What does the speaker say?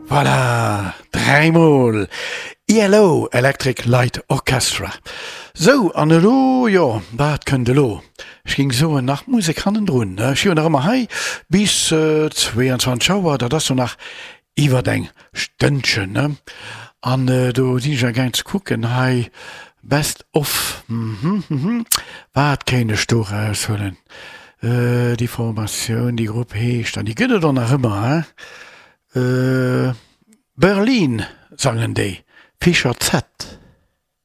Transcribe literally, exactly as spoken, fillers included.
Voilà, dräimol ELO, Electric Light Orchestra. Sou, an elo, jo, wat kënnt elo? Ech géing soen, nach Musek hannendrun, ne? Ech si jo nach ëmmer hei bis zwéianzwanzeg Auer, dat ass jo nach iwwert eng Stënnchen, ne? An do sinn ech amgaang ze kucken hei, Best of, mhm, mhm, wat kéint ech do eraushuelen? Déi Formatioun, déi Grupp heescht, an déi gëtt et och nach ëmmer, hein? Berlin sangen déi, Fischer Z.